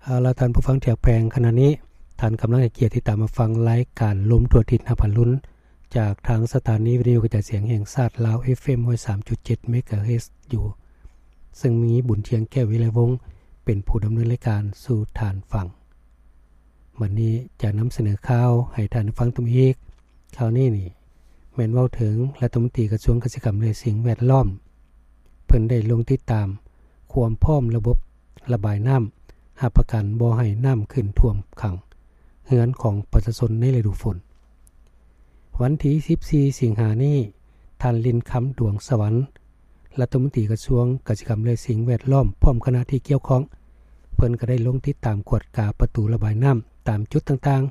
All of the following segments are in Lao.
ເອົາລະ ທ່ານຜູ້ຟັງທີ່ຮັກແພງ, ຂະນະນີ້ທ່ານກຳລັງໃຫ້ກຽດຕິດຕາມຮັບຟັງລາຍການລົມທົ່ວທິດຫ້າພັນລຸນ ຈາກທາງສະຖານີວິທະຍຸກະຈາຍສຽງແຫ່ງຊາດລາວ ເອັຟເອັມຮ້ອຍສາມຈຸດເຈັດ ເມກາເຮີດຢູ່, ເຊິ່ງມີບຸນທຽງ ແກ້ວວິໄລວົງ ເປັນຜູ້ດຳເນີນລາຍການສູ່ທ່ານຟັງ. ບັດນີ້ຈະນຳສະເໜີຂ່າວໃຫ້ທ່ານໄດ້ຟັງຕື່ມອີກ. ຂ່າວນີ້ນີ້ແມ່ນເວົ້າເຖິງລັດຖະມົນຕີກະຊວງກະສິກຳ ແລະ ສິ່ງແວດລ້ອມ ເພິ່ນໄດ້ລົງຕິດຕາມຄວາມພ້ອມລະບົບລະບາຍນ້ຳ ຮັບປະກັນບໍ່ໃຫ້ນ້ຳຂຶ້ນຖ້ວມຂັງເຮືອນຂອງປະຊາຊົນໃນລະດູຝົນ. ວັນທີສິບສີ່ ສິງຫານີ້, ທ່ານ ລິນຄຳ ດວງສະຫວັນ ລັດຖະມົນຕີກະຊວງກະສິກຳ ແລະ ສິ່ງແວດລ້ອມ ພ້ອມຄະນະທີ່ກ່ຽວຂ້ອງ ເພິ່ນກໍໄດ້ລົງຕິດຕາມກວດກາປະຕູລະບາຍນ້ຳຕາມຈຸດຕ່າງ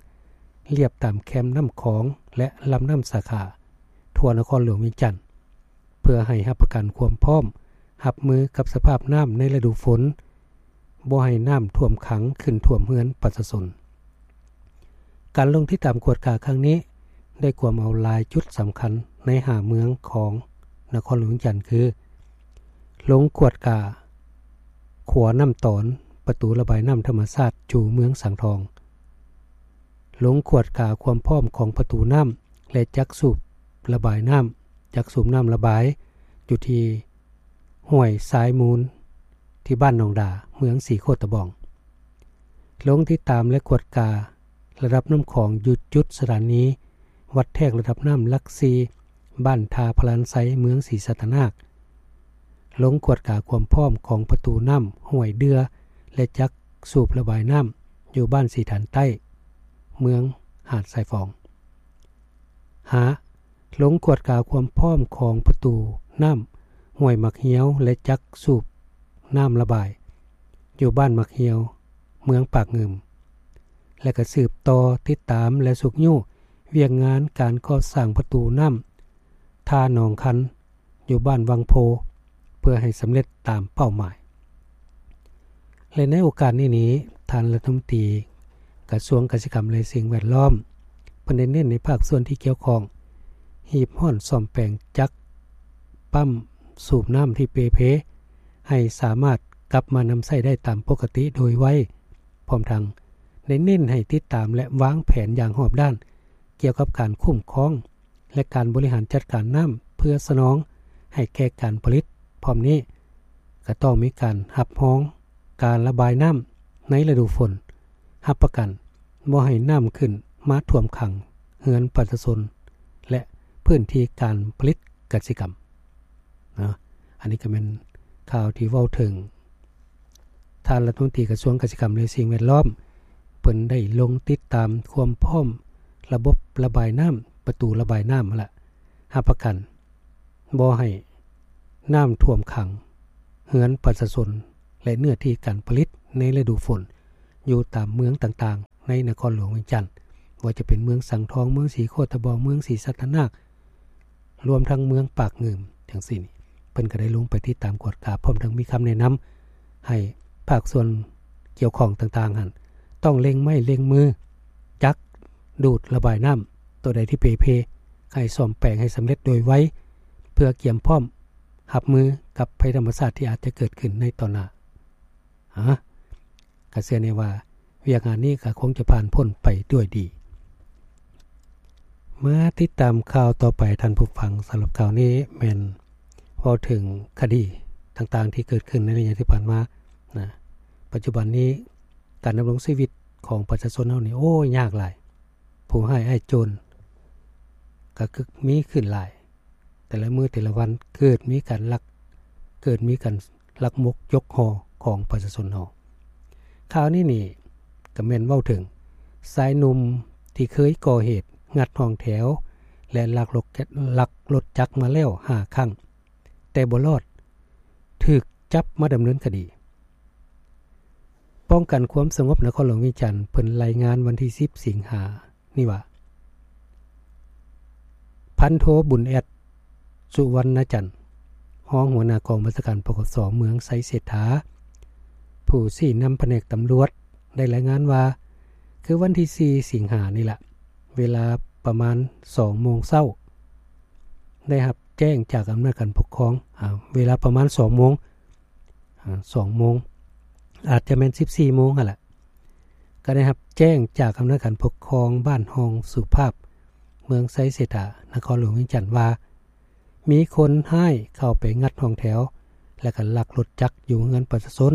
ໆ ລຽບຕາມແຄມນ້ຳຂອງ ແລະ ລຳນ້ຳສາຂາ ທົ່ວນະຄອນຫຼວງວຽງຈັນ ເພື່ອໃຫ້ຮັບປະກັນຄວາມພ້ອມຮັບມືກັບສະພາບນ້ຳໃນລະດູຝົນ, ບໍ່ໃຫ້ນ້ຳຖ້ວມຂັງຂຶ້ນຖ້ວມເຮືອນປະຊາຊົນ. ການລົງຕິດຕາມກວດກາຄັ້ງນີ້ ໄດ້ກວມເອົາຫຼາຍຈຸດສຳຄັນໃນຫ້າເມືອງຂອງນະຄອນຫຼວງວຽງຈັນ ຄື ລົງກວດກາຂົວນ້ຳຕອນປະຕູລະບາຍນ້ຳທຳມະຊາດຈູ່ເມືອງສັງທອງ, ລົງກວດກາຄວາມພ້ອມຂອງປະຕູນ້ຳ ແລະ ຈັກສູບລະບາຍນ້ຳ, ຈັກສູບນ້ຳລະບາຍຢູ່ທີ່ຫ້ວຍຊາຍມູນ ທີ່ບ້ານໜອງດາ ເມືອງສີໂຄດຕະບອງ, ລົງຕິດຕາມ ແລະ ກວດກາລະດັບນ້ຳຂອງຢູ່ຈຸດສະຖານີວັດແທກລະດັບນ້ຳຫຼັກສີ່ ບ້ານທ່າພະລານໄຊ ເມືອງສີສັດຕະນາກ, ລົງກວດກາຄວາມພ້ອມຂອງປະຕູນ້ຳຫ້ວຍເດື່ອ ແລະ ຈັກສູບລະບາຍນ້ຳຢູ່ບ້ານສີຖານໃຕ້ ເມືອງຫາດຊາຍຟອງ. ຫ້າ ລົງກວດກາຄວາມພ້ອມຂອງປະຕູນ້ຳຫ້ວຍໝາກຮຽວ ແລະ ຈັກສູບນ້ຳລະບາຍຢູ່ບ້ານໝາກຮຽວ ເມືອງປາກງື່ມ ແລະ ກໍສືບຕໍ່ຕິດຕາມ ແລະ ຊຸກຍູ້ວຽກງານການກໍ່ສ້າງປະຕູນ້ຳທ່າໜອງຄັນ ຢູ່ບ້ານວັງໂພ ເພື່ອໃຫ້ສຳເລັດຕາມເປົ້າໝາຍ. ແລະ ໃນໂອກາດນີ້ນີ້ ທ່ານລັດຖະມົນຕີກະຊວງກະສິກຳ ແລະ ສິ່ງແວດລ້ອມ ເພິ່ນໄດ້ເນັ້ນໃຫ້ພາກສ່ວນທີ່ກ່ຽວຂ້ອງ ຮີບຮ້ອນສ້ອມແປງຈັກປ້ຳສູບນ້ຳທີ່ເປ່ເພ ໃຫ້ສາມາດກັບມານຳໃຊ້ໄດ້ຕາມປົກກະຕິໂດຍໄວ, ພ້ອມທັງໄດ້ເນັ້ນໃຫ້ຕິດຕາມ ແລະ ວາງແຜນຢ່າງຮອບດ້ານ ກ່ຽວກັບການຄຸ້ມຄອງ ແລະ ການບໍລິຫານຈັດການນ້ຳເພື່ອສະໜອງໃຫ້ແກ່ການຜະລິດ. ພ້ອມນີ້ກໍຕ້ອງມີການຮັບຮອງການລະບາຍນ້ຳໃນລະດູຝົນ, ຮັບປະກັນບໍ່ໃຫ້ນ້ຳຂຶ້ນມາຖ້ວມຂັງເຮືອນປະຊາຊົນ ແລະ ພື້ນທີ່ການຜະລິດກະສິກຳ. ເນາະ ອັນນີ້ກໍແມ່ນຂ່າວທີ່ເວົ້າເຖິງ ທ່ານລັດຖະມົນຕີກະຊວງກະສິກຳ ແລະ ສິ່ງແວດລ້ອມ ເພິ່ນໄດ້ລົງຕິດຕາມຄວາມພ້ອມລະບົບລະບາຍນ້ຳ, ປະຕູລະບາຍນ້ຳຫັ້ນລະ, ຮັບປະກັນບໍ່ໃຫ້ນ້ຳຖ້ວມຂັງເຮືອນປະຊາຊົນ ແລະ ເນື້ອທີ່ການຜະລິດໃນລະດູຝົນ ຢູ່ຕາມເມືອງຕ່າງໆ ໃນນະຄອນຫຼວງວຽງຈັນ, ບໍ່ວ່າຈະເປັນເມືອງສັງທອງ, ເມືອງສີໂຄດຕະບອງ, ເມືອງສີສັດຕະນາກ, ລວມທັງເມືອງປາກງື່ມ ຈັ່ງຊີ້ນີ້ ເພິ່ນກໍໄດ້ລົງໄປຕິດຕາມກວດກາ ພ້ອມທັງມີຄຳແນະນຳໃຫ້ພາກສ່ວນກ່ຽວຂ້ອງຕ່າງໆຫັ້ນ ຕ້ອງເລັ່ງໄມ້ເລັ່ງມື ຈັກດູດລະບາຍນ້ຳ ໂຕໃດທີ່ເປ່ເພ ໃຫ້ສ້ອມແປງໃຫ້ສຳເລັດໂດຍໄວ ເພື່ອກຽມພ້ອມຮັບມືກັບໄພທຳມະຊາດທີ່ອາດຈະເກີດຂຶ້ນໃນຕໍ່ໜ້າ. ຮະ ກະເຊື່ອແນ່ວ່າວຽກງານນີ້ກະຄົງຈະຜ່ານພົ້ນໄປດ້ວຍດີ. ມາຕິດຕາມຂ່າວຕໍ່ໄປທ່ານຜູ້ຟັງ. ສຳລັບຂ່າວນີ້ແມ່ນເວົ້າເຖິງຄະດີຕ່າງໆທີ່ເກີດຂຶ້ນໃນໄລຍະທີ່ຜ່ານມານະ. ປັດຈຸບັນນີ້ການດຳລົງຊີວິດຂອງປະຊາຊົນເຮົານີ້ ໂອ້ຍ ຍາກຫຼາຍ. ຜູ້ຮ້າຍອ້າຍໂຈນກະຄືມີຂຶ້ນຫຼາຍ. ແຕ່ລະມື້ແຕ່ລະວັນເກີດມີການລັກ, ເກີດມີການລັກມົກຍົກຫໍ່ຂອງປະຊາຊົນເຮົາ. ຂ່າວນີ້ນີ້ກະແມ່ນເວົ້າເຖິງຊາຍໜຸ່ມທີ່ເຄີຍກໍ່ເຫດງັດຫ້ອງແຖວ ແລະ ລັກລົດ, ລັກລົດຈັກມາແລ້ວຫ້າຄັ້ງ ແຕ່ບໍ່ລອດ, ຖືກຈັບມາດຳເນີນຄະດີ. ປ້ອງກັນຄວາມສະຫງົບນະຄອນຫຼວງວຽງຈັນ ເພິ່ນລາຍງານວັນທີສິບ ສິງຫານີ້ວ່າ ພັນໂທ ບຸນແອດ ສຸວັນນະຈັນ ຮອງຫົວໜ້າກອງບັນຊາການ ປກສ ເມືອງໄຊເສດຖາ ຜູ້ຊີ້ນຳພະແນກຕຳຫຼວດ ໄດ້ລາຍງານວ່າ ຄືວັນທີສີ່ ສິງຫານີ້ລະ ເວລາປະມານສອງໂມງເຊົ້າ ໄດ້ຮັບແຈ້ງຈາກອຳນາດການປົກຄອງ ອາ ເວລາປະມານສອງໂມງ ອາ ສອງໂມງ ອາດຈະແມ່ນສິບສີ່ໂມງຫັ້ນລະ ກໍໄດ້ຮັບແຈ້ງຈາກອຳນາດການປົກຄອງບ້ານຮ່ອງສຸພາບ ເມືອງໄຊເສດຖາ ນະຄອນຫຼວງວຽງຈັນວ່າ ມີຄົນຮ້າຍເຂົ້າໄປງັດຫ້ອງແຖວ ແລະ ກໍລັກລົດຈັກຢູ່ເຮືອນປະຊາຊົນ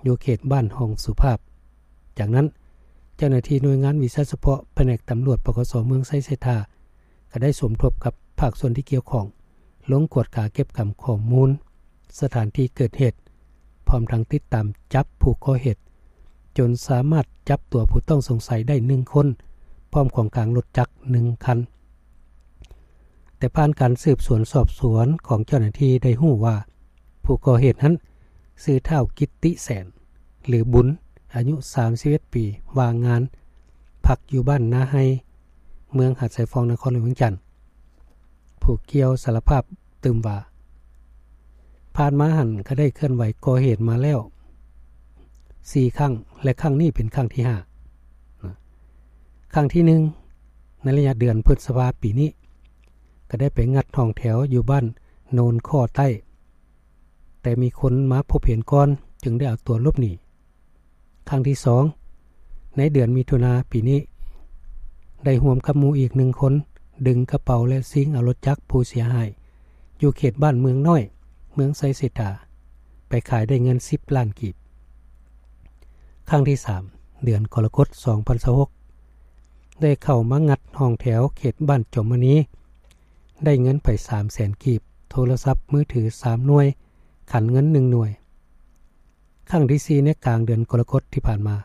ຢູ່ເຂດບ້ານຮ່ອງສຸພາບ. ຈາກນັ້ນ ເຈົ້າໜ້າທີ່ໜ່ວຍງານວິຊາສະເພາະ ພະແນກຕຳຫຼວດ ປກສ ເມືອງໄຊເສດຖາ ກໍໄດ້ສົມທົບກັບພາກສ່ວນທີ່ກ່ຽວຂ້ອງ ລົງກວດກາເກັບກຳຂໍ້ມູນສະຖານທີ່ເກີດເຫດ ພ້ອມທັງຕິດຕາມຈັບຜູ້ກໍ່ເຫດ ຈົນສາມາດຈັບຕົວຜູ້ຕ້ອງສົງໄສໄດ້ໜຶ່ງຄົນ ພ້ອມຂອງກາງລົດຈັກໜຶ່ງຄັນ. ແຕ່ຜ່ານການສືບສວນສອບສວນຂອງເຈົ້າໜ້າທີ່ໄດ້ຮູ້ວ່າ ຜູ້ກໍ່ເຫດນັ້ນຊື່ທ້າວກິດຕິແສນ ຫຼື ບຸນ ອາຍຸສາມສິບເອັດປີ ວ່າງງານ ພັກຢູ່ບ້ານນາໄຮ ເມືອງຫາດຊາຍຟອງ ນະຄອນຫຼວງວຽງຈັນ. ຜູ້ກ່ຽວສາລະພາບຕື່ມວ່າ ຜ່ານມາຫັ້ນກໍໄດ້ເຄື່ອນໄຫວກໍ່ເຫດມາແລ້ວສີ່ຄັ້ງ ແລະ ຄັ້ງນີ້ເປັນຄັ້ງທີຫ້າ. ຄັ້ງທີໜຶ່ງ ໃນໄລຍະເດືອນພຶດສະພາປີນີ້ ກໍໄດ້ໄປງັດຫ້ອງແຖວຢູ່ບ້ານໂນນຂໍ້ໃຕ້ ແຕ່ມີຄົນມາພົບເຫັນກ່ອນ ຈຶ່ງໄດ້ເອົາຕົວຫຼົບໜີ. ຄັ້ງທີສອງ ໃນເດືອນມິຖຸນາປີນີ້ ໄດ້ຮ່ວມກັບໝູ່ອີກໜຶ່ງຄົນ ດຶງກະເປົາ ແລະ ຊິງເອົາລົດຈັກຜູ້ເສຍຫາຍ ຢູ່ເຂດບ້ານເມືອງນ້ອຍ ເມືອງໄຊເສດຖາ ໄປຂາຍໄດ້ເງິນສິບລ້ານກີບ. ຄັ້ງທີສາມ ເດືອນກໍລະກົດ ສອງພັນຊາວຫົກ ໄດ້ເຂົ້າມາງັດຫ້ອງແຖວເຂດບ້ານຈອມມະນີ ໄດ້ເງິນໄປສາມແສນກີບ, ໂທລະສັບມືຖືສາມໜ່ວຍ, ຂັນເງິນໜຶ່ງໜ່ວຍ. ຄັ້ງທີສີ່ ໃນກາງເດືອນກໍລະກົດທີ່ຜ່ານມາ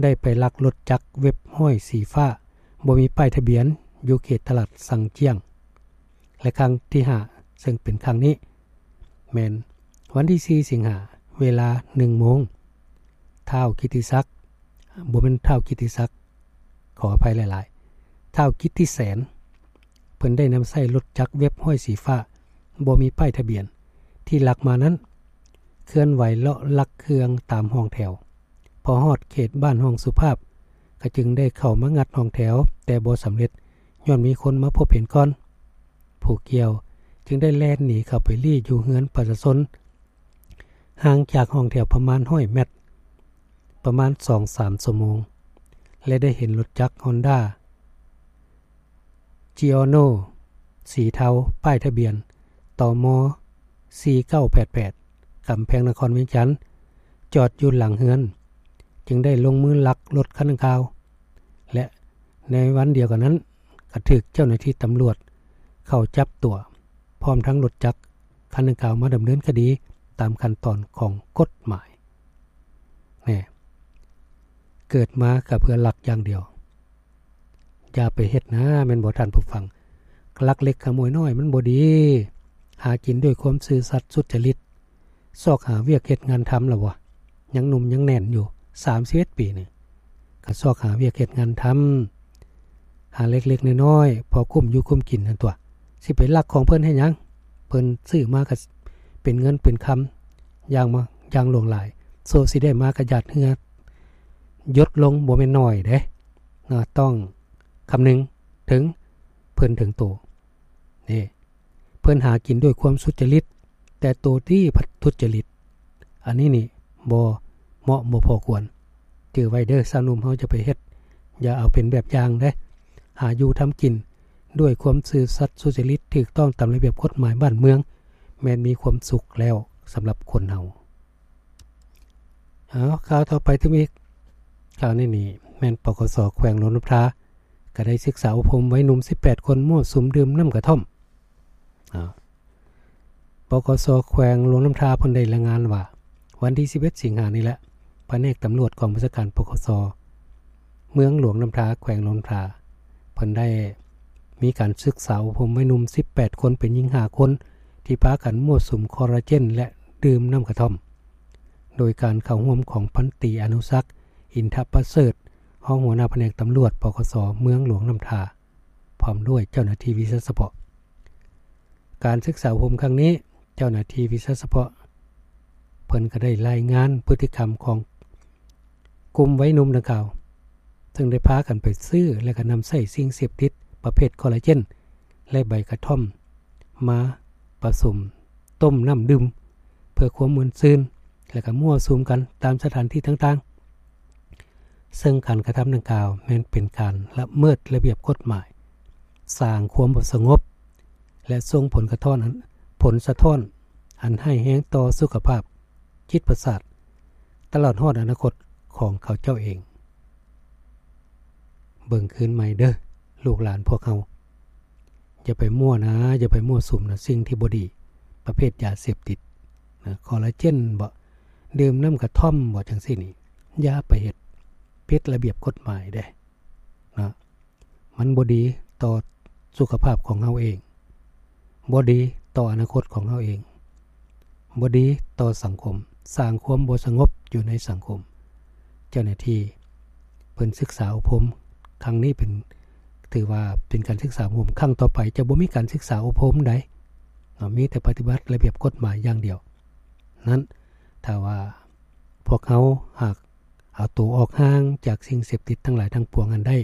ໄດ້ໄປລັກລົດຈັກເວັບຫ້ອຍສີຟ້າ ບໍ່ມີປ້າຍທະບຽນ ຢູ່ເຂດຕະຫຼາດສັງຈຽງ. ແລະ ຄັ້ງທີຫ້າ ເຊິ່ງເປັນຄັ້ງນີ້ ແມ່ນວັນທີສີ່ ສິງຫາ ເວລາໜຶ່ງໂມງ ທ້າວກິດຕິສັກ ບໍ່ແມ່ນທ້າວກິດຕິສັກ ຂໍອະໄພຫຼາຍໆ ທ້າວກິດຕິແສນ ເພິ່ນໄດ້ນຳໃຊ້ລົດຈັກເວັບຫ້ອຍສີຟ້າ ບໍ່ມີປ້າຍທະບຽນ ທີ່ລັກມານັ້ນ ເຄື່ອນໄຫວເລາະລັກເຄື່ອງຕາມຫ້ອງແຖວ. ພໍຮອດເຂດບ້ານຮ່ອງສຸພາບ ກໍຈຶ່ງໄດ້ເຂົ້າມາງັດຫ້ອງແຖວ ແຕ່ບໍ່ສຳເລັດ ຍ້ອນມີຄົນມາພົບເຫັນກ່ອນ. ຜູ້ກ່ຽວຈຶ່ງໄດ້ແລ່ນໜີເຂົ້າໄປລີ້ຢູ່ເຮືອນປະຊາຊົນ ຫ່າງຈາກຫ້ອງແຖວປະມານຮ້ອຍແມັດ ປະມານສອງສາມຊົ່ວໂມງ ແລະ ໄດ້ເຫັນລົດຈັກຮອນດ້າ ຈີອອໂນ ສີເທົາ ປ້າຍທະບຽນ ຕມ ສີ່ເກົ້າແປດແປດ ກຳແພງນະຄອນວຽງຈັນ ຈອດຢູ່ຫຼັງເຮືອນ ຈຶ່ງໄດ້ລົງມືລັກລົດຄັນດັ່ງກ່າວ ແລະ ໃນວັນດຽວກັນນັ້ນ ກໍຖືກເຈົ້າໜ້າທີ່ຕຳຫຼວດເຂົ້າຈັບຕົວ ພ້ອມທັງລົດຈັກຄັນດັ່ງກ່າວມາດຳເນີນຄະດີຕາມຂັ້ນຕອນຂອງກົດໝາຍ. ແນ່ ເກີດມາກໍເພື່ອລັກຢ່າງດຽວ. ຢ່າໄປເຮັດນາ ແມ່ນບໍ່ທ່ານຜູ້ຟັງ? ລັກເລັກຂະໂມຍນ້ອຍມັນບໍ່ດີ. ຫາກິນດ້ວຍຄວາມຊື່ສັດສຸດຈະລິດ ຊອກຫາວຽກເຮັດງານທຳລະວະ. ຍັງໜຸ່ມຍັງແໜ້ນຢູ່ ສາມສິບເອັດປີນີ້ ກໍຊອກຫາວຽກເຮັດງານທຳ ຫາເລັກໆນ້ອຍໆ ພໍກຸ້ມຢູ່ກຸ້ມກິນຫັ້ນຕົວະ. ຊິໄປລັກຂອງເພິ່ນເຮັດຫຍັງ? ເພິ່ນຊື້ມາກໍເປັນເງິນເປັນຄຳຢ່າງມາ ຢ່າງຫຼວງຫຼາຍ ໂຊຊິໄດ້ມາກໍຢາດເຫື່ອຢົດລົງ ບໍ່ແມ່ນໜ້ອຍເດ້. ນະ ຕ້ອງຄຳນຶງເຖິງເພິ່ນເຖິງໂຕ. ນີ້ ເພິ່ນຫາກິນດ້ວຍຄວາມສຸດຈະລິດ ແຕ່ໂຕນີ້ພັດທຸດຈະລິດ. ອັນນີ້ນີ້ບໍ່ເໝາະບໍ່ພໍຄວນ. ຈື່ໄວ້ເດີ ຊາວໜຸ່ມເຮົາຈະໄປເຮັດ ຢ່າເອົາເປັນແບບຢ່າງເດ້. ຫາຢູ່ທຳກິນດ້ວຍຄວາມຊື່ສັດສຸດຈະລິດ ຖືກຕ້ອງຕາມລະບຽບກົດໝາຍບ້ານເມືອງ ແມ່ນມີຄວາມສຸກແລ້ວສຳລັບຄົນເຮົາ. ເອົາ ຂ່າວຕໍ່ໄປຕື່ມອີກ. ຂ່າວນີ້ນີ້ແມ່ນ ປກສ ແຂວງຫຼວງນ້ຳທາ ກໍໄດ້ສຶກສາອົບຮົມໄວໜຸ່ມສິບແປດຄົນ ມົ້ວສຸມດື່ມນ້ຳກະທ່ອມ. ອາ ປກສ ແຂວງຫຼວງນ້ຳທາ ເພິ່ນໄດ້ລາຍງານວ່າ ວັນທີສິບເອັດ ສິງຫານີ້ແຫຼະ ພະແນກຕຳຫຼວດກອງບັນຊາການ ປກສ ເມືອງຫຼວງນ້ຳທາ ແຂວງຫຼວງນ້ຳທາ ເພິ່ນໄດ້ມີການສຶກສາອົບຮົມໄວໜຸ່ມສິບແປດຄົນ ເປັນຍິງຫ້າຄົນ ທີ່ພາກັນມົ້ວສຸມຄໍລາເຈນ ແລະ ດື່ມນ້ຳກະທ່ອມ ໂດຍການເຂົ້າຮ່ວມຂອງພັນຕີ ອະນຸສັກ ອິນທະປະເສີດ ຮອງຫົວໜ້າພະແນກຕຳຫຼວດ ປກສ ເມືອງຫຼວງນ້ຳທາ ພ້ອມດ້ວຍເຈົ້າໜ້າທີ່ວິຊາສະເພາະ. ການສຶກສາອົບຮົມຄັ້ງນີ້ ເຈົ້າໜ້າທີ່ວິຊາສະເພາະເພິ່ນກໍໄດ້ລາຍງານພຶດຕິກຳຂອງກຸ່ມໄວໜຸ່ມດັ່ງກ່າວ ເຊິ່ງໄດ້ພາກັນໄປຊື້ ແລະ ກໍນຳໃຊ້ສິ່ງເສບຕິດປະເພດຄໍລາເຈນ ແລະ ໃບກະທ່ອມ ມາປະສົມຕົ້ມນ້ຳດື່ມ ເພື່ອຄວາມມ່ວນຊື່ນ ແລະ ກໍມົ້ວສຸມກັນຕາມສະຖານທີ່ຕ່າງ ເຊິ່ງການກະທຳດັ່ງກ່າວແມ່ນເປັນການລະເມີດລະບຽບກົດໝາຍ, ສ້າງຄວາມບໍ່ສະຫງົບ ແລະ ສົ່ງຜົນກະທ້ອນອັນ ຜົນສະທ້ອນອັນຮ້າຍແຮງຕໍ່ສຸຂະພາບຈິດປະສາດ ຕະຫຼອດຮອດອະນາຄົດຂອງເຂົາເຈົ້າເອງ. ເບິ່ງຄືນໃໝ່ເດີ້ ລູກຫຼານພວກເຮົາ. ຢ່າໄປມົວນະ, ຢ່າໄປມົວສຸມນະ, ສິ່ງທີ່ບໍ່ດີ ປະເພດຢາເສບຕິດນະ, ຄໍລາເຈນບໍ, ດື່ມນ້ຳກະທ່ອມບໍ, ຈັ່ງຊີ້ນີ້ ຢ່າໄປເຮັດ, ຜິດລະບຽບກົດໝາຍເດ້ນະ. ມັນບໍ່ດີຕໍ່ສຸຂະພາບຂອງເຮົາເອງ, ບໍ່ດີຕໍ່ອະນາຄົດຂອງເຮົາເອງ, ບໍ່ດີຕໍ່ສັງຄົມ, ສ້າງຄວາມບໍ່ສະຫງົບຢູ່ໃນສັງຄົມ. ເຈົ້າໜ້າທີ່ເພິ່ນສຶກສາອົບຮົມຄັ້ງນີ້ເປັນ ຖືວ່າເປັນການສຶກສາອົບຮົມຄັ້ງຕໍ່ໄປ ຈະບໍ່ມີການສຶກສາອົບຮົມໃດເນາະ, ມີແຕ່ປະຕິບັດລະບຽບກົດໝາຍຢ່າງດຽວນັ້ນ. ຖ້າວ່າພວກເຮົາຫາກເອົາໂຕອອກຫ່າງຈາກສິ່ງເສບຕິດທັງຫຼາຍທັງປວງນັ້ນໄດ້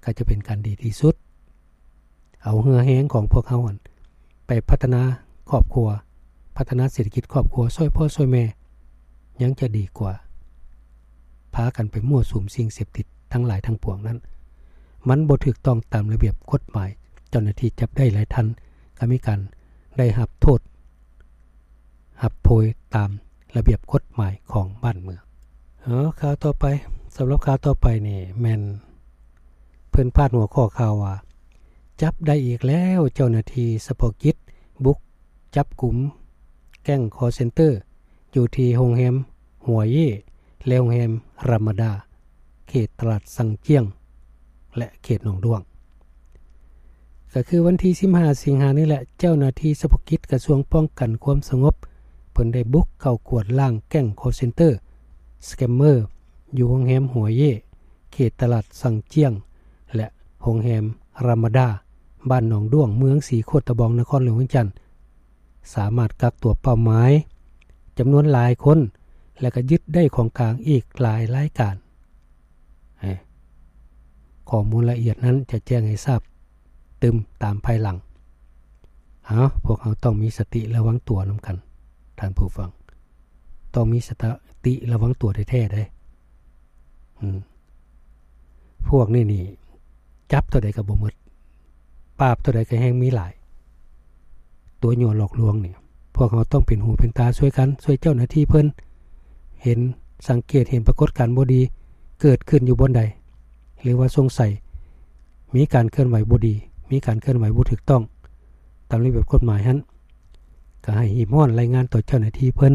ກໍຈະເປັນການດີທີ່ສຸດ. ເອົາເຫື່ອແຮງຂອງພວກເຮົາຫັ້ນໄປພັດທະນາຄອບຄົວ, ພັດທະນາເສດຖະກິດຄອບຄົວ, ຊ່ວຍພໍ່ຊ່ວຍແມ່ ຍັງຈະດີກວ່າ ພາກັນໄປມົ້ວສຸມສິ່ງເສບຕິດທັງຫຼາຍທັງປວງນັ້ນ. ມັນບໍ່ຖືກຕ້ອງຕາມລະບຽບກົດໝາຍ, ເຈົ້າໜ້າທີ່ຈັບໄດ້ຫຼາຍທ່ານກໍມີການໄດ້ຮັບໂທດ ຮັບໂທດຕາມລະບຽບກົດໝາຍຂອງບ້ານເມືອງ. ເອີ ຂ່າວຕໍ່ໄປ, ສຳລັບຂ່າວຕໍ່ໄປນີ້ແມ່ນເພິ່ນພາດຫົວຂໍ້ຂ່າວວ່າ ຈັບໄດ້ອີກແລ້ວ, ເຈົ້າໜ້າທີ່ສະເພາະກິດບຸກຈັບກຸມແກ້ງຄໍເຊັນເຕີ ຢູ່ທີ່ໂຮງແຮມຫົວເຢ ແລະ ໂຮງແຮມຣາມາດາ ເຂດຕະຫຼາດຊັງຈຽງ ແລະ ເຂດໜອງດ້ວງ. ກໍຄືວັນທີສິບຫ້າສິງຫານີ້ແຫຼະ, ເຈົ້າໜ້າທີ່ສະເພາະກິດກະຊວງປ້ອງກັນຄວາມສະຫງົບ ເພິ່ນໄດ້ບຸກເຂົ້າກວດລ້າງແກ້ງຄໍເຊັນເຕີ ສະແກມເມີ ຢູ່ໂຮງແຮມຫົວເຢ ເຂດຕະຫຼາດຊັງຈຽງ ແລະ ໂຮງແຮມຣາມາດາ ບ້ານໜອງດ້ວງ ເມືອງສີໂຄດຕະບອງ ນະຄອນຫຼວງວຽງຈັນ. ສາມາດກັກຕົວເປົ້າໝາຍຈຳນວນຫຼາຍຄົນ ແລະ ກໍຍຶດໄດ້ຂອງກາງອີກຫຼາຍລາຍການ. ເອີ ຂໍ້ມູນລະອຽດນັ້ນຈະແຈ້ງໃຫ້ຊາບຕື່ມຕາມພາຍຫຼັງ. ເອົາ, ພວກເຮົາຕ້ອງມີສະຕິລະວັງຕົວນຳກັນ, ທ່ານຜູ້ຟັງ, ຕ້ອງມີສະຕະຕິລະວັງຕົວແທ້ໆເດ້. ອືມ ພວກນີ້ນີ້ ຈັບເທົ່າໃດກໍບໍ່ໝົດ, ປາບເທົ່າໃດກໍແຮ່ງມີຫຼາຍ. ຕົວຍົວະຫຼອກລວງນີ້ ພວກເຮົາຕ້ອງເປັນຫູເປັນຕາຊ່ວຍກັນ, ຊ່ວຍເຈົ້າໜ້າທີ່ເພິ່ນ ເຫັນ ສັງເກດເຫັນປາກົດການບໍ່ດີເກີດຂຶ້ນຢູ່ບ່ອນໃດ ຫຼືວ່າສົງໄສມີການເຄື່ອນໄຫວບໍ່ດີ, ມີການເຄື່ອນໄຫວບໍ່ຖືກຕ້ອງຕາມລະບຽບກົດໝາຍຫັ້ນ, ກໍໃຫ້ຮີບຮ້ອນລາຍງານຕໍ່ເຈົ້າໜ້າທີ່ເພິ່ນ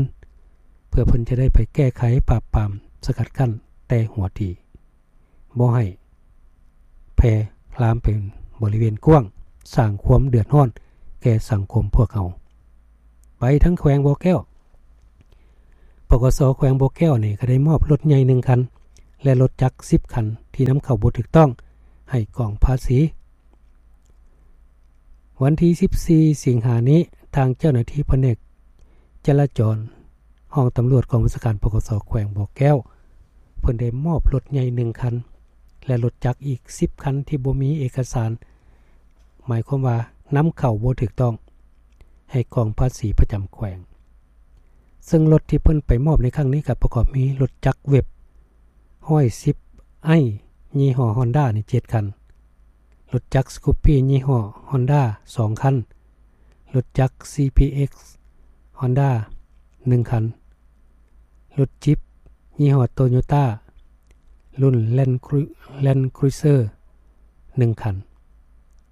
ເພື່ອເພິ່ນຈະໄດ້ໄປແກ້ໄຂ, ປາບປາມ, ສະກັດກັ້ນແຕ່ຫົວທີ. ບໍ່ໃຫ້ແຜ່ລາມເປັນບໍລິເວນກວ້າງ, ສ້າງຄວາມເດືອດຮ້ອນແກ່ສັງຄົມພວກເຮົາ. ໄປທາງແຂວງບໍ່ແກ້ວ, ປກສ ແຂວງບໍ່ແກ້ວນີ້ກໍໄດ້ມອບລົດໃຫຍ່ໜຶ່ງຄັນ ແລະ ລົດຈັກສິບຄັນທີ່ນຳເຂົ້າບໍ່ຖືກຕ້ອງໃຫ້ກອງພາສີ. ວັນທີສິບສີ່ສິງຫານີ້, ທາງເຈົ້າໜ້າທີ່ພະແນກຈະລາຈອນ ຫ້ອງຕຳຫຼວດກອງບັນຊາການ ປກສ ແຂວງບໍ່ແກ້ວ ເພິ່ນໄດ້ມອບລົດໃຫຍ່ໜຶ່ງຄັນ ແລະ ລົດຈັກອີກສິບຄັນທີ່ບໍ່ມີເອກະສານ, ໝາຍຄວາມວ່ານຳເຂົ້າບໍ່ຖືກຕ້ອງ ໃຫ້ກອງພາສີປະຈຳແຂວງ. ເຊິ່ງລົດທີ່ເພິ່ນໄປມອບໃນຄັ້ງນີ້ກໍປະກອບມີລົດຈັກເວັບຮ້ອຍສິບໄອ ຍີ່ຫໍ້ຮອນດ້ານີ້ເຈັດຄັນ, ລົດຈັກສະກຸບປີ້ຍີ່ຫໍ້ຮອນດ້າສອງຄັນ, ລົດຈັກຊີພີເອັກຮອນດ້າໜຶ່ງຄັນ, ລົດຈິບຍີ່ຫໍ້ໂຕໂຍຕ້າລຸ້ນແລນຄຣູ ແລນຄຣູເຊີໜຶ່ງຄັນ.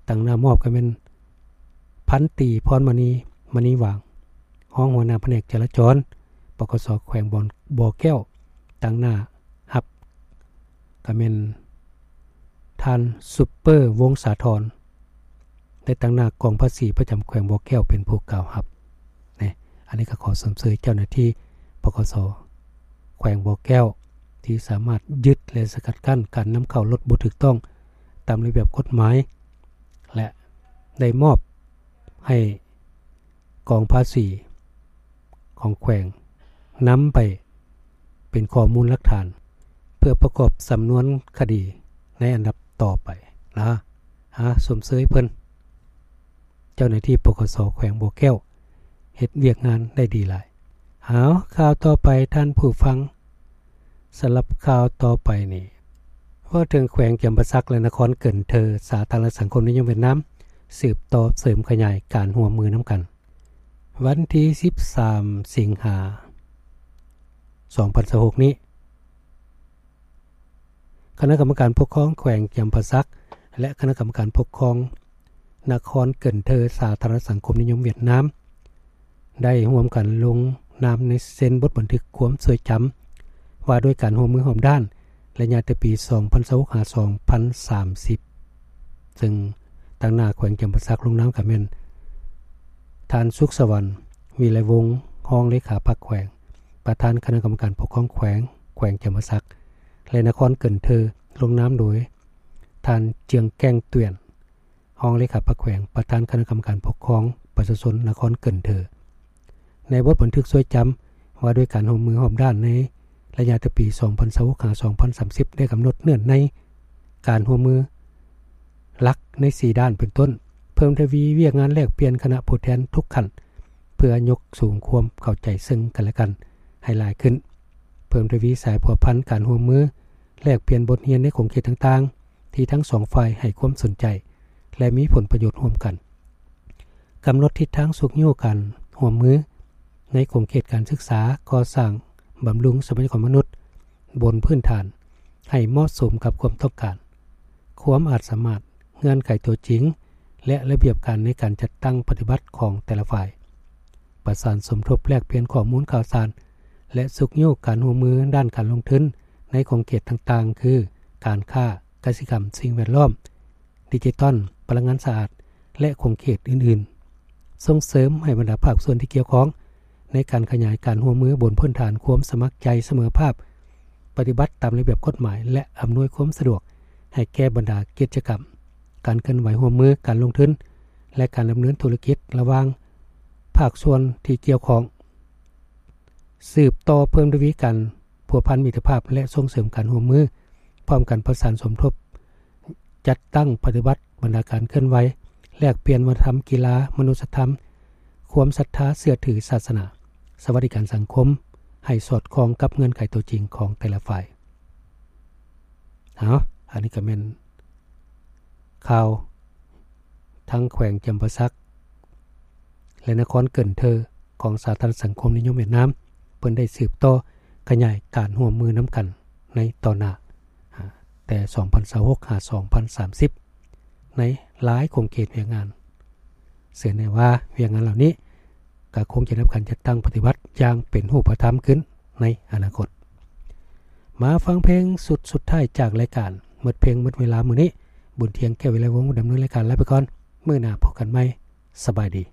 ຕາງໜ້າມອບກໍແມ່ນພັນຕີ ພອນມະນີ ມະນີຫວ່າງ ຮອງຫົວໜ້າພະແນກຈະລາຈອນ ປກສ ແຂວງບໍ່ແກ້ວ. ຕາງໜ້າຮັບ ກໍແມ່ນທ່ານ ຊຸບເປີ ວົງສາທອນ ໄດ້ຕາງໜ້າກອງພາສີປະຈຳແຂວງບໍ່ແກ້ວເປັນຜູ້ກ່າວຮັບ. ນີ້ ອັນນີ້ກໍຂໍຊົມເຊີຍເຈົ້າໜ້າທີ່ ປກສ ແຂວງບໍ່ແກ້ວ ທີ່ສາມາດຍຶດ ແລະ ສະກັດກັ້ນການນຳເຂົ້າລົດບໍ່ຖືກຕ້ອງຕາມລະບຽບກົດໝາຍ ແລະ ໄດ້ມອບໃຫ້ ກອງພາສີຂອງແຂວງນຳໄປເປັນຂໍ້ມູນຫຼັກຖານ ເພື່ອປະກອບສຳນວນຄະດີໃນອັນດັບຕໍ່ໄປນະ. ຫາຊົມເຊີຍເພິ່ນ, ເຈົ້າໜ້າທີ່ ປກສ ແຂວງບໍ່ແກ້ວ ເຮັດວຽກງານໄດ້ດີຫຼາຍ. ຫາຂ່າວຕໍ່ໄປທ່ານຜູ້ຟັງ, ສຳລັບຂ່າວຕໍ່ໄປນີ້ ເວົ້າເຖິງແຂວງຈຳປາສັກ ແລະ ນະຄອນເກີນເທີ ສາທາລະນະສັງຄົມນິຍົມຫວຽດນາມ ສືບຕໍ່ເສີມຂະຫຍາຍການຮ່ວມມືນຳກັນ. ວັນທີສິບສາມ ສິງຫາ ສອງພັນຊາວຫົກນີ້, ຄະນະກຳມະການປົກຄອງແຂວງຈຳປາສັກ ແລະ ຄະນະກຳມະການປົກຄອງນະຄອນເກີນເທີ ສາທາລະນະສັງຄົມນິຍົມຫວຽດນາມ ໄດ້ຮ່ວມກັນລົງນາມໃນເຊັນບົດບັນທຶກຄວາມຊວຍຈຳ ວ່າດ້ວຍການຮ່ວມມືຮອບດ້ານ ໄລຍະແຕ່ປີສອງພັນຊາວຫົກ ຫາ ສອງພັນສາມສິບ ເຊິ່ງຕາງໜ້າແຂວງຈຳປາສັກລົງນາມກໍແມ່ນ ທ່ານ ສຸກສະຫວັນ ວິໄລວົງ ຮອງເລຂາພັກແຂວງ ປະທານຄະນະກຳມະການປົກຄອງແຂວງ ແຂວງຈຳປາສັກ ແລະ ນະຄອນເກີນເທີ ລົງນາມໂດຍ ທ່ານ ເຈືອງແກ້ງ ຕວຽນ ຮອງເລຂາພັກແຂວງ ປະທານຄະນະກຳມະການປົກຄອງປະຊາຊົນນະຄອນເກີນເທີ. ໃນບົດບັນທຶກຊວຍຈຳວ່າດ້ວຍການຮ່ວມມືຮອບດ້ານໃນໄລຍະແຕ່ປີສອງພັນຊາວຫົກ ຫາ ສອງພັນສາມສິບ ໄດ້ກຳນົດເງື່ອນໄຂການຮ່ວມມືຫຼັກໃນສີ່ດ້ານ ເປັນຕົ້ນ ເພີ່ມທະວີວຽກງານແລກປ່ຽນຄະນະຜູ້ແທນທຸກຂັ້ນ ເພື່ອຍົກສູງຄວາມເຂົ້າໃຈເຊິ່ງກັນແລະກັນໃຫ້ຫຼາຍຂຶ້ນ, ເພີ່ມທະວີສາຍພົວພັນການຮ່ວມມື ແລກປ່ຽນບົດຮຽນໃນຂົງເຂດຕ່າງໆ ທີ່ທັງສອງຝ່າຍໃຫ້ຄວາມສົນໃຈ ແລະ ມີຜົນປະໂຫຍດຮ່ວມກັນ. ກຳນົດທິດທາງຊຸກຍູ້ການຮ່ວມມືໃນຂົງເຂດການສຶກສາ, ກໍ່ສ້າງ, ບຳລຸງຊັບພະຍາກອນມະນຸດບົນພື້ນຖານໃຫ້ເໝາະສົມກັບຄວາມຕ້ອງການ, ຄວາມອາດສາມາດ, ເງື່ອນໄຂຕົວຈິງ ແລະ ລະບຽບການໃນການຈັດຕັ້ງປະຕິບັດຂອງແຕ່ລະຝ່າຍ. ປະສານສົມທົບແລກປ່ຽນຂໍ້ມູນຂ່າວສານ ແລະ ຊຸກຍູ້ການຮ່ວມມືດ້ານການລົງທຶນໃນຂົງເຂດຕ່າງໆ ຄື ການຄ້າ, ກະສິກຳ, ສິ່ງແວດລ້ອມ, ດິຈິຕອນ, ພະລັງງານສະອາດ ແລະ ຂົງເຂດອື່ນໆ. ສົ່ງເສີມໃຫ້ບັນດາພາກສ່ວນທີ່ກ່ຽວຂ້ອງໃນການຂະຫຍາຍການຮ່ວມມືບົນພື້ນຖານຄວາມສະໝັກໃຈສະເໝີພາບ, ປະຕິບັດຕາມລະບຽບກົດໝາຍ ແລະ ອຳນວຍຄວາມສະດວກໃຫ້ແກ່ບັນດາກິດຈະກຳ, ການເຄື່ອນໄຫວຮ່ວມມືການລົງທຶນ ແລະ ການດຳເນີນທຸລະກິດລະຫວ່າງພາກສ່ວນທີ່ກ່ຽວຂ້ອງ. ສືບຕໍ່ເພີ່ມທະວີການພົວພັນມິດຕະພາບ ແລະ ສົ່ງເສີມການຮ່ວມມື, ພ້ອມກັນປະສານສົມທົບ ຈັດຕັ້ງປະຕິບັດບັນດາການເຄື່ອນໄຫວ, ແລກປ່ຽນວັດທະນະທຳ, ກິລາ, ມະນຸດສະທຳ, ຄວາມສັດທາເຊື່ອຖື, ສາສະໜາ, ສະຫວັດດີການສັງຄົມ ໃຫ້ສອດຄ່ອງກັບເງື່ອນໄຂຕົວຈິງຂອງແຕ່ລະຝ່າຍ. ເອົາ, ອັນນີ້ກໍແມ່ນຂ່າວທາງແຂວງຈຳປາສັກ ແລະ ນະຄອນເກີນເທີ ຂອງສາທາລະນະສັງຄົມນິຍົມຫວຽດນາມ, ເພິ່ນໄດ້ສືບຕໍ່ຂະຫຍາຍການຮ່ວມມືນຳກັນໃນຕໍ່ໜ້າ, ແຕ່ສອງພັນຊາວຫົກ ຫາ ສອງພັນສາມສິບ ໃນຫຼາຍຂົງເຂດວຽກງານ. ເຊື່ອແນ່ວ່າວຽກງານເຫຼົ່ານີ້ກໍຄົງຈະໄດ້ຮັບການຈັດຕັ້ງປະຕິບັດຢ່າງເປັນຮູບປະທຳຂຶ້ນໃນອະນາຄົດ. ມາຟັງເພງຊຸດສຸດທ້າຍຈາກລາຍການ. ໝົດເພງໝົດເວລາມື້ນີ້, ບຸນທຽງ ແກ້ວວິໄລວົງ ດຳເນີນລາຍການ ລາໄປກ່ອນ. ມື້ໜ້າພົບກັນໃໝ່. ສະບາຍດີ.